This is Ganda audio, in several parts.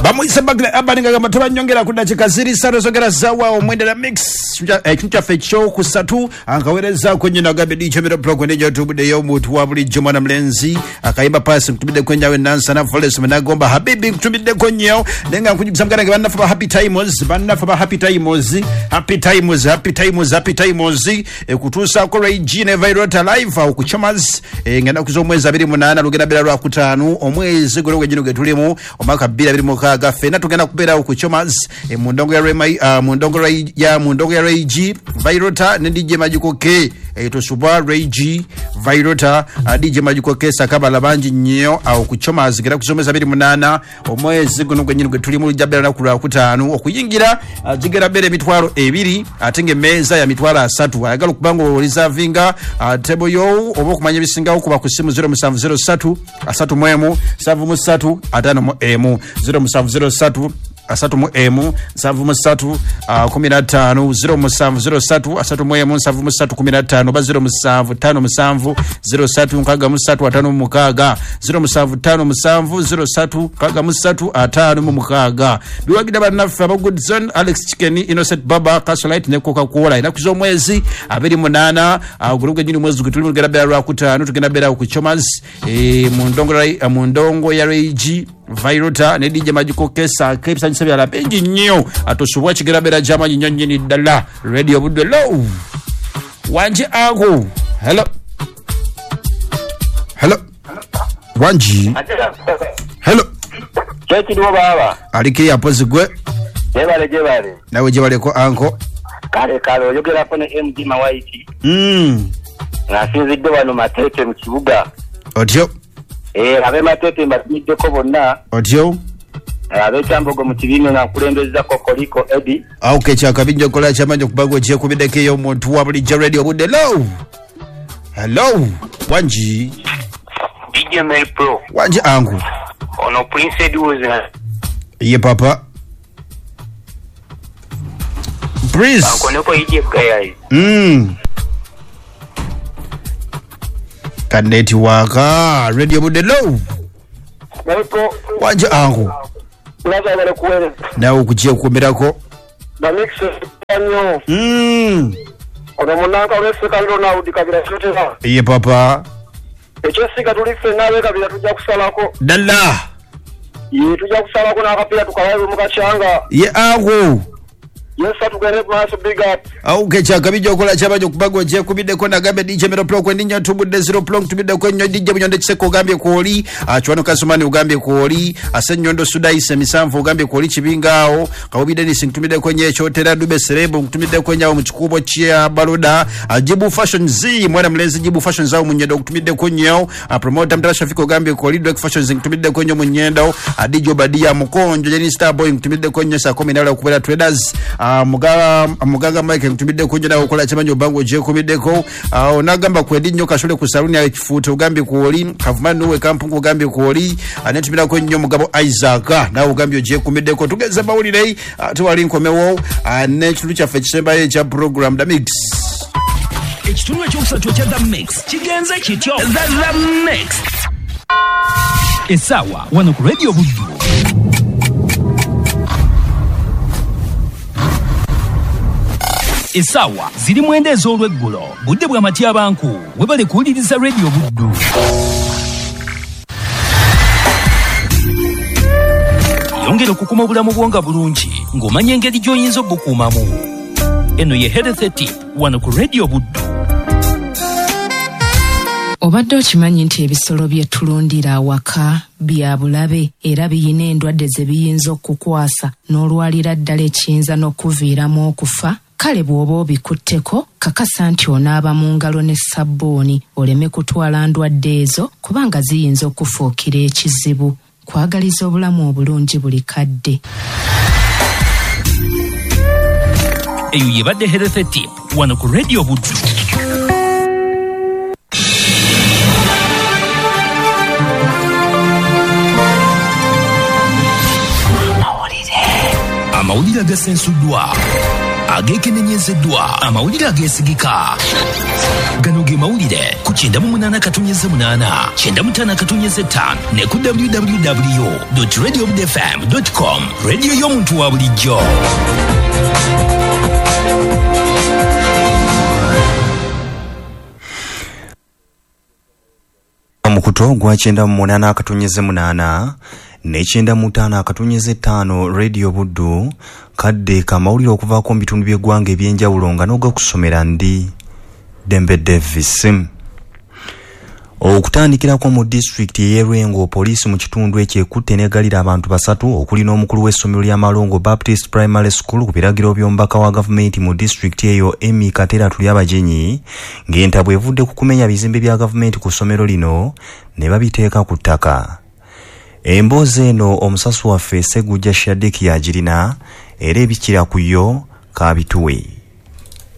Bamuyise Bagla Abani nga tubanyongera ku dakiika ziri ssatu zogera zawa omwendera mix ekintu kyaffe ekyokusatu ankaweerezaako nnyo nagambye dikyomero pulogwe nejatubuddeyo omuntu wa bulijjo mwana mulenzi akayimba paasi nkutumiddeko nnyo awe Nansana Forest Munagomba Habibi nkutumiddeko nnyo naye nga nkujukiza muganda nge bannaffe ba Happy Times, bannaffe ba Happy Times, Happy Times, Happy Times, Happy Times ekutuusaako Ray G ne Virota live awo ku Chomas nga ennaku z'omwezi 28 lugenda beera lwakutaano omwezi guno gwennyini gwe tulimu omwaka 2026 ffenna tugenda kubeerawo ku Chomas mu ndongo ya Rema, mu ndongo ya Ray G Virota ne DJ Magical K tosubwa Ray G Virota DJ Magical K sakabala bangi nnyo awo ku Chomas gera kusomeza 28 omwezi guno gwennyini gwe tulimu lujja beera lunaku lwakutaano okuyingira zigera beera emitwalo ebiri ate ng'emmeeza ya mitwalo asatu. Ayagala okuba nga olizavinga table yo oba okumanya ebisingawo kuba ku ssimu 0703 31 73 51 0703 31 73 15 0703 31 73 15 oba 0757 03 63 56 0757 03 63 56. Biwagira bannaffe aba Good Zone, Alex Chicken, Innocent Baba, Castlelight ne Coca-Cola. Ennaku z'omwezi 28 guno gwennyini mwezi gwe tulimu lugenda beera lwakutaano tugenda beera ku Chomas mu ndongo ya Ray G Virota ne DJ Magical Kesa ebisanyusa byala bingi nnyo atosubwa kigera beera gy'amaanyi nnyo nnyini ddala. Radio Buddu hello wanje ako hello hello wanji hello kyekiriwo baaba aliko yapozi gwe gyebale gyebale nawe gyebaleko anko kale kale oyogerako ne MD Mawaiti ng'asinzidde wano Mateete mu kibuga otyo ab'e Mateete mbatumiddeko bonna otyo ab'ekyambogo mu kibiina nga nkulembeza Kokoliko Edi okay kyakabinja okola kyamanyi okubaga okyekubiddeko eyo omuntu wa bulijjo. Radio Budde hello hello wanji DJ Mel Pro wanji angu ono Prince Edwards ye papa Prince ankoneko ije gayayi kaneti waka. Radio Budde hello Mel Pro wanji angu nawe okujja okukomerako ono munanka olw'esseka Ronald Kabira Kyotera ye papa ekyessiga tuli ffenna ab'e Kabira tujja kusalako ddala ye tujja kusalako n'akapiira tukalabe mu kacyanga ye angu yesa tugende maaso big up okay kyakabijja okola kyamanyi okubaga okyekubiddeko nagambe DJ Mero Pro kwendinya tubudde 0 Pro nkutumiddeko ennyo DJ Bunyondo Kiseko ogambye kwoli Kiwano Kasumani ogambye kwoli Asenyondo Sudaise Misanvu ogambye kwoli Kibingaawo Kawobi Dennis nkutumiddeko nnyo Ekyotera Dube Serebu nkutumiddeko nnyo awo mu kikubo kya Baluda Jibu Fashion Z mwana mulenzi Jibu Fashion zaawo mu Nnyendo nkutumiddeko nnyo Promoter Mtala Shafiko ogambye kwoli Drake Fashions nkutumiddeko nnyo mu Nnyendo DJ Obadia Mukonjo Jenny Starboy nkutumiddeko nnyo saa 10 nawala okubeera Traders Mugaga Mike nkutumiddeko nnyo nawe okola kyamanyi obanga ogyekubiddeko onagamba kwedi nnyo Kasule ku saluni ya Kifuuta ogambye kwoli Kavuma Nuwe Kampungu ogambye kwoli netumirako nnyo Mugabo Isaac nawe ogambye ogyekumiddeko. Tugeze mawulire tewali nkomewo n'ekitundu kyaffe ekisembayo ekya program The Mix. Ekitundu ekyokusatu ekya The Mix kigenze kityo. The Mix essaawa wano ku Radio Buddu. Essaawa ziri 9 ez'olweggulo budde bwa matyabanku webale kuwuliriza Radio Buddu. Yongera okukuma obulamu bwo nga bulungi ng'omanya engeri gy'oyinza obukuumamu. Eno ye Health Tip wano ku Radio Buddu. Obadde okimanyi nti ebisolo bye tulundira awaka bya bulabe era biyina endwadde ze biyinza okukwasa n'olwalira ddala ekiyinza n'okuviiramu okufa? Kale bw'oba obikutteko kakasa nti onaaba mu ngalo ne sabbuuni oleme kutwala ndwadde ezo kubanga ziyinza okufuukira ekizibu. Kwagaliza obulamu obulungi buli kadde. Eyo yebadde Health Tip wano ku Radio Buddu. Amawulire agasensuddwa Ageekenenyezeddwa, amawulire ageesigika. Gano ge mawulire ku 98.8, 95.5 ne ku www.radiobudfm.com. Radio y'omuntu wa bulijjo. Omukuto gwa 98.8 ne 95.5 Radio Buddu kadde kamawulire okuvaako mu bitundu by'eggwanga eby'enjawulo nga n'ogakusomera ndi Dembe Davis. Okutandikirako mu disitulikiti ey'e Lwengo, poliisi mu kitundu ekyo ekutte n'eggalira abantu basatu okuli n'omukulu w'essomero lya Malongo Baptist Primary School ku biragiro by'omubaka wa gavumenti mu disitulikiti eyo Emmy Katera Tulyabagenyi, ng'entabwe evudde ku kumenya bizimbe bya gavumenti ku ssomero lino ne babiteeka ku ttaka. Emboozi eno omusasu waffe Segujja Shadik yagirina era ebikira ku yo kabituwe.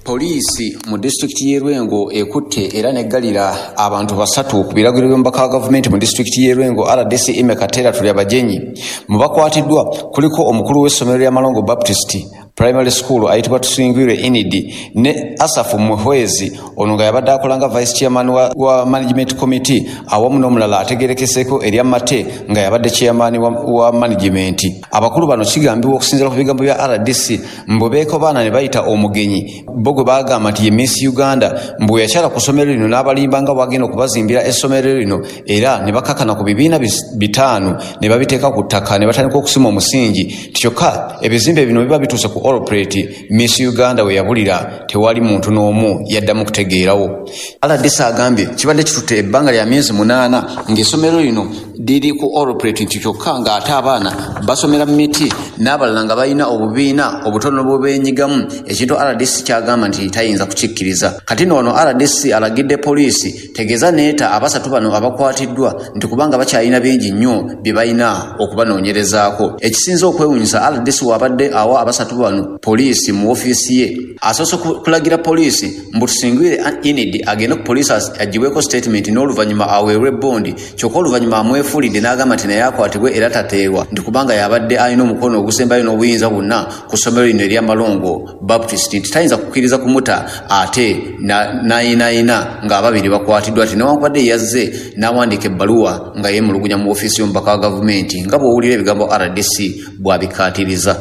Poliisi mu disitulikiti y'e Lwengo ekutte era n'eggalira abantu basatu ku biragiro by'omubaka wa gavumenti mu disitulikiti y'e Lwengo RDC Emmy Katera Tulyabagenyi. Mu bakwatiddwa kuliko omukulu w'essomero lya Malongo Baptist Primary School ayitibwa Tusingwire Inidi ne Asafu Muhwezi, ono nga yabadde akola nga vice chairman wa management committee, awamu n'omulala ategerekeseeko erya Mate nga yabadde chairman wa management. Abakulu bano kigambibwa okusinziira ku bigambo bya RDC mbu beekobaana ne bayita omugenyi bo gwe baagamba nti ye Miss Uganda, mbu yakyala ku ssomero lino n'abalimba nga bw'agenda okubazimbira essomero lino, era ne bakakana ku bibiina 5 ne babiteeka ku ttaka ne batandika okusima omusingi. Kyokka ebizimbe bino biba bituuse ku Allplate Miss Uganda we yabulira tewali muntu n'omu yaddamu kutegeerawo. RDC agambye kibadde kitutte ebbanga lya myezi 8 ng'essomero lino liri ku Allplate, nti kyokka ng'ate abaana basomera mu miti n'abalala nga balina obubiina obutono bwe beenyigamu, ekintu RDC kyagamba nti tayinza kukikkiriza. Kati nno wano RDC alagidde poliisi tegeeza neeta abasatu bano abakwatiddwa nti kubanga bakyalina bingi nnyo bye balina okubanoonyerezaako. Ekisinze okwewuunyisa, RDC wabadde awa abasatu bano poliisi mu ofiisi ye asoose kulagira poliisi mbu Tusingwire Inidi agende ku poliisi agibweko statement n'oluvannyuma aweerwe bondi, kyokka oluvannyuma amwefuulidde n'agamba nti naye akwatibwe era tateerwa, nti kubanga yabadde alina omukono ogusembayo n'obuyinza bwonna ku ssomero lino erya Malongo Baptist, nti tayinza kukkiriza kumuta ate n'ayinaayina ng'ababiri bakwatiddwa, nti newankubadde yazze n'awandiika ebbaluwa nga yeemulugunya mu ofiisi y'omubaka wa gavumenti nga bw'owulira ebigambo RDC bw'abikkaatiriza.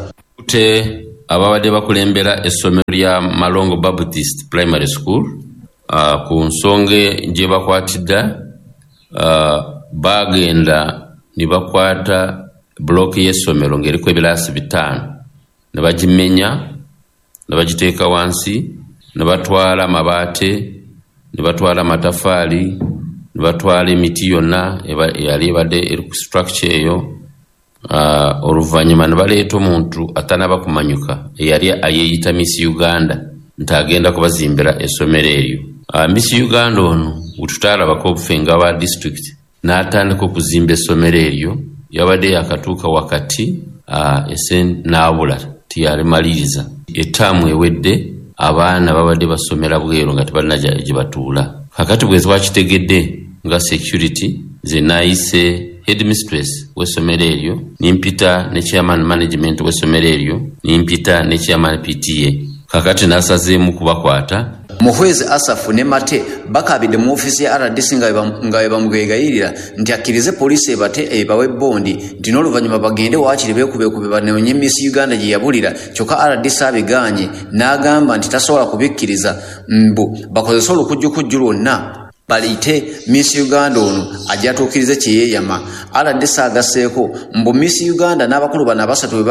Ababadde bakulembera essomero lya Malongo Baptist Primary School ku nsonga gye bakwatidde, bagenda ne bakwata bulooki y'essomero ng'eriko ebiraasi 5 ne bagimenya ne bagiteeka wansi ne batwala amabaate ne batwala amatafaali ne batwala emiti yonna eyali ebadde eri ku structure eyo. Oluvannyuma ne baleeta omuntu atanaba kumanyuka eyali ayeeyita Miss Uganda nti agenda kubazimbira essomero eryo. Miss Uganda ono bwe ffe nga aba district n'atandika okuzimba essomero eryo, yabadde yakatuuka wakati ese n'abula tiyalimaliriza. Ettaamu ewedde abaana babadde basomera bweru nga tebalina gye batuula. Kakati bwe twakitegedde nga security, nze naayise headmistress w'essomero eryo, nimpita ne chairman management w'essomero eryo, nimpita ne chairman PTA. Kakati nasazeemu kubakwata. Muhwezi Asafu ne Mate bakabidde mu ofiisi ya RDC nga bwe bamwegayirira nti akkirize poliisi ebate ebawe bondi, nti n'oluvannyuma bagende waakiri beekubeekube banoonye Miss Uganda gye yabulira, kyokka RDC abigaanye n'agamba nti tasobola kubikkiriza, mbu bakozese olukujjukujju lwonna baliyite Miss Uganda ono ajja atuukirize kye yeeyama. RDC agasseeko mbu Miss Uganda n'abakulu bano abasatu bwe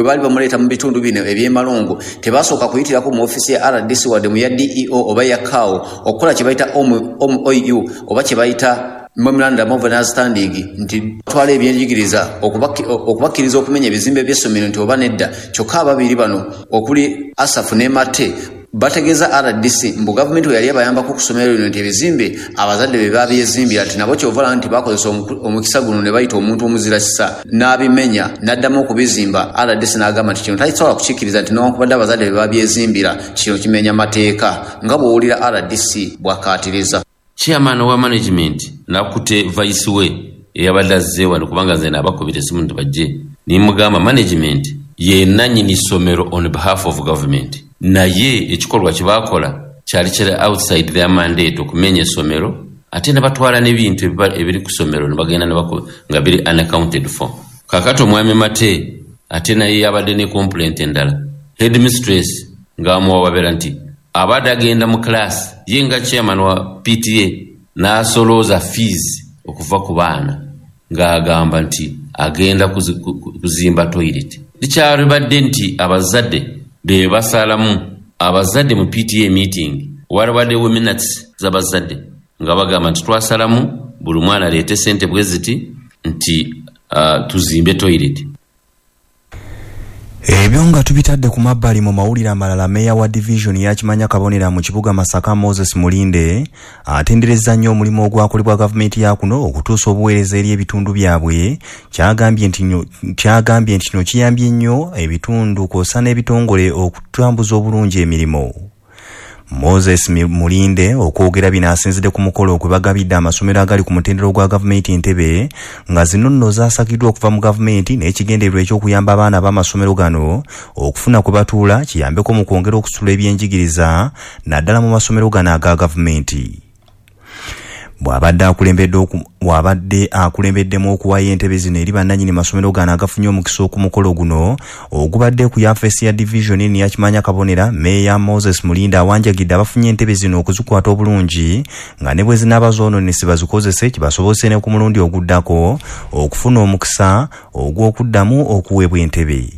baali bamuleeta mu bitundu bino eby'e Malongo tebasooka kuyitirako mu ofiisi ya RDC wadde mu ya DEO oba ya CAO okukola kye bayita MOU oba kye bayita memorandum of understanding, nti twala ebyenjigiriza okubakkiriza okumenya ebizimbe by'essomero nti oba nedda. Kyokka ababiri bano okuli Asafu ne Mate bategeeza RDC mbu gavumenti we yali abayambako ku ssomero lino nti ebizimbe abazadde be babyezimbira, nti nabo kyova nti bakozesa omukisa guno ne bayita omuntu omuzira kisa n'abimenya n'addamu okubizimba. RDC n'agamba nti kino takisobola kukikkiriza, nti newankubadde abazadde be babyezimbira kino kimenya mateeka, nga bw'owulira RDC bw'akkaatiriza. Chairman wa management nakute vice we eyabadde azze wano, kubanga nze naabakubira essimu nti bajje, nimugamba management Ye nannyini ssomero on behalf of government, naye ekikolwa kye baakola kyali kiri outside their mandate, okumenya essomero ate ne batwala n'ebintu ebiri ku ssomero ne bagenda nga biri unaccounted for. Kaakati omwami Mate ate naye yabadde ne complaint endala, headmistress ng'amuwawabira nti abadde agenda mu class ye nga chairman wa PTA n'asolooza fees okuva ku baana ng'agamba nti agenda kuzimba toilet. Likyalibadde nti abazadde be basalamu, abazadde mu PTA meeting walibaddewo minutes z'abazadde nga bagamba nti twasalamu buli mwana aleete sente bwe ziti nti tuzimbe toilet. Ebyo nga tubitadde ku mabbali, mu mawulire amalala, meeya wa division ya Kimanya Kabonera mu kibuga Masaka, Moses Mulinde, atenderezza nnyo omulimu ogwakolebwa gavumenti ya kuno okutuusa obuweereza eri ebitundu byabwe, kyagambye nti kino kiyambye nnyo ebitundu kw'ossa n'ebitongole okutambuza obulungi emirimu. Moses Mulinde okwogera bino asinzidde ku mukolo kwe bagabidde amasomero agali ku mutendera gwa gavumenti entebe, nga zino nno zaasakiddwa okuva mu gavumenti n'ekigendererwa eky'okuyamba abaana b'amasomero gano okufuna kwe batuula, kiyambeko mu kwongera okusitula ebyenjigiriza naddala mu masomero gano aga gavumenti. Bw'abadde akulembeddemu okuwaayo entebe zino eri bannannyini masomero gano agafunye omukisa ku mukolo guno ogubadde ku yafeesi ya division eno ya Kimanya Kabonera, Meeya Moses Mulinde awanjagidde abafunye entebe zino okuzikwata obulungi, nga ne bwe zinaaba zoonoonese bazikozese, kibasobozese ne ku mulundi oguddako okufuna omukisa ogw'okuddamu okuweebwa entebe.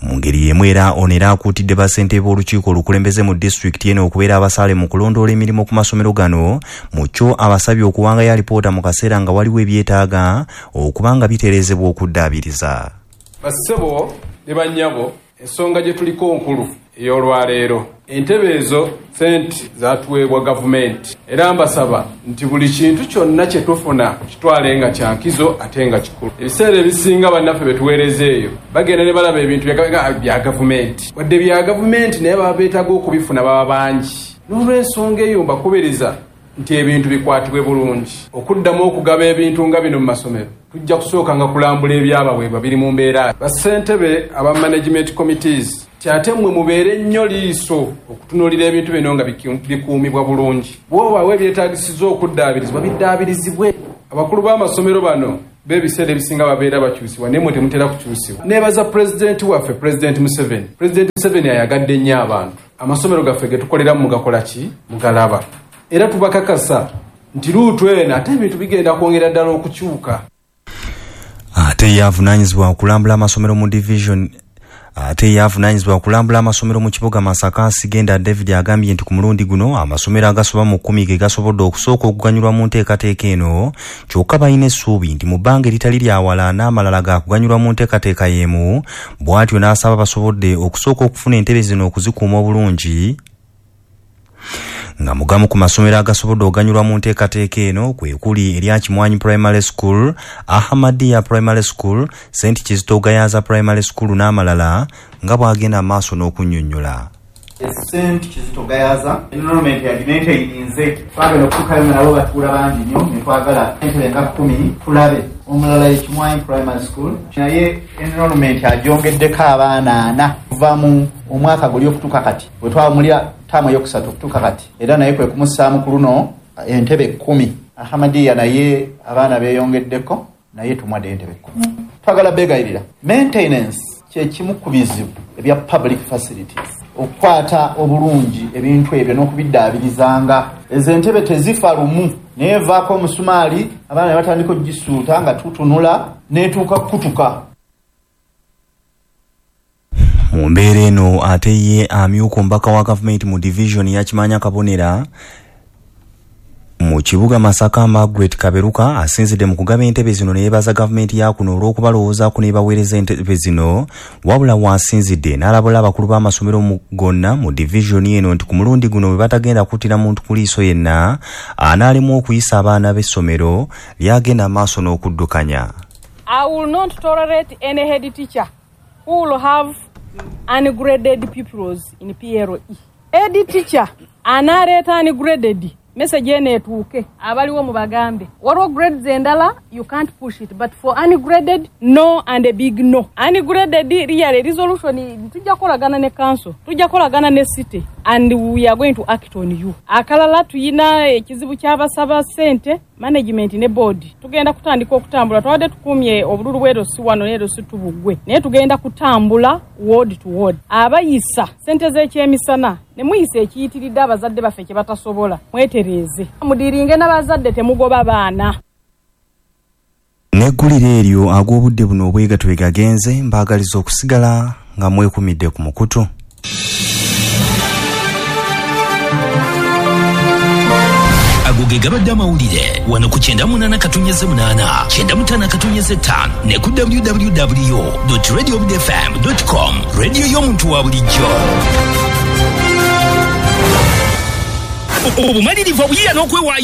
Mu ngeri y'emu era ono era akuutidde bassentebe b'olukiiko olukulembeze mu disitulikiti eno okubeera abasaale mu kulondoola emirimu ku masomero gano. Mu kyo abasabye okuwangayo alipoota mu kaseera nga waliwo ebyetaaga okuba nga bitereezebwa okuddaabiriza. Bassebo ne bannyabo, ensonga gye tuliko nkulu ey'olwaleero. Entebe ezo sente zatuweebwa gavumenti, era mbasaba nti buli kintu kyonna kye tufuna kitwale nga kya nkizo ate nga kikulu. Ebiseera ebisinga bannaffe be tuweereza eyo bagenda ne balaba ebintu bya gavumenti, wadde bya gavumenti naye baba beetaaga okubifuna baba bangi. N'olw'ensonga eyo mbakubiriza nti ebintu bikwatibwe bulungi. Okuddamu okugaba ebintu nga bino mu masomero, tujja kusooka nga kulambula ebyabaweebwa biri mu mbeera. Bassentebe aba management committees, ate mmwe mubeere nnyo liiso okutunuulira ebintu bino nga bikuumibwa bulungi. Bw'obaawo ebyetaagisiza okuddaabirizibwa, biddaabirizibwe. Abakulu b'amasomero bano b'ebiseera ebisinga babeera bakyusibwa, naye mmwe temutera kukyusibwa. Neebaza pulezidenti waffe, Pulezidenti Museveni. Pulezidenti Museveni ayagadde nnyo abantu. Amasomero gaffe ge tukoleramu mugakola ki? Mugalaba. Era tubakakasa nti luutu eno ate ebintu bigenda kwongera ddala okukyuka. Ate ye avunaanyizibwa okulambula amasomero mu division, ate ye avunaanyizibwa okulambula amasomero mu kibuga Masaka, Sigenda David, agambye nti ku mulundi guno amasomero agasoba mu 10 ge gasobodde okusooka okuganyulwa mu nteekateeka eno, kyokka balina essuubi nti mu bbanga eritali lya wala n'amalala gaakuganyulwa mu nteekateeka y'emu. Bw'atyo n'asaba basobodde okusooka okufuna entebe zino okuzikuuma obulungi, nga mugamu ku masomero agasobodde okuganyulwa mu nteekateeka eno kwe kuli erya Kimwanyi Primary School, Ahmadiyya Primary School, St Kizito Gayaza Primary School n'amalala, nga bw'agenda maaso n'okunnyonnyola. St Kizito Gayaza enrollment yagimaintaininze, twagala okutuukayo nga nabo batuula bangi nnyo ne twagala entebe nga 10 tulabe. Omulala ye Kimwanyi Primary School, naye enrollment agyongeddeko abaana 4 kuva mu omwaka guli okutuuka kati, bwe twamulira taamu eyokusatu okutuuka kati, era naye kwe kumussaamu ku luno entebe 10. Ahmadiyya naye abaana beeyongeddeko, naye tumwadde entebe 10. Twagala beegayirira, maintenance kye kimu ku bizibu ebya public facilities, okukwata obulungi ebintu ebyo n'okubiddaabirizanga. Ezo entebe tezifa lumu, naye evaako omusumaali abaana ne batandika okugisuuta nga tutunula n'etuuka kukutuka. Mu mbeera eno ate ye amyuka omubaka wa gavumenti mu division ya Kimanya Kabonera mu kibuga Masaka, Margaret Kaberuka, asinzidde mu kugaba entebe zino ne yeebaza gavumenti ya kuno olw'okubalowoozaako n'ebaweereza entebe zino. Wabula waasinzidde n'alabula abakulu b'amasomero gonna mu divisioni eno nti ku mulundi guno bwe batagenda kuttira muntu ku liiso yenna anaalemwa okuyisa abaana b'essomero lyagenda maaso n'okuddukanya. I will not tolerate any head teacher who will have ungraded pupils in PLE. Head teacher analeeta ungraded Message eno etuuke abaliwo mubagambe. Waliwo grades endala you can't push it, but for ungraded, no and a big no. Ungraded really resolution tujja kukolagana ne council, tujja kukolagana ne city, and we are going to act on you. Akalala tuyina ekizibu ky'abasaba ssente management ne board. Tugenda kutandika okutambula, twabadde tukumye obululu bw'erosi wano n'erosi tubugwe, naye tugenda kutambula ward to ward. Abayisa ssente z'ekyemisana ne muyisa ekiyitiridde abazadde baffe kye batasobola, mwetereeze, mudiringe n'abazadde, temugoba baana. Neggulire eryo ag'obudde buno obwegatwe gagenze, mbaagaliza okusigala nga mwekumidde ku mukutu. Ago ge gabadde amawulire wano ku 98.8, 95.5 ne ku www.radiobudfm.com, radio y'omuntu wa bulijjo. Obumalirivu, obuyiiya n'okwewaayo.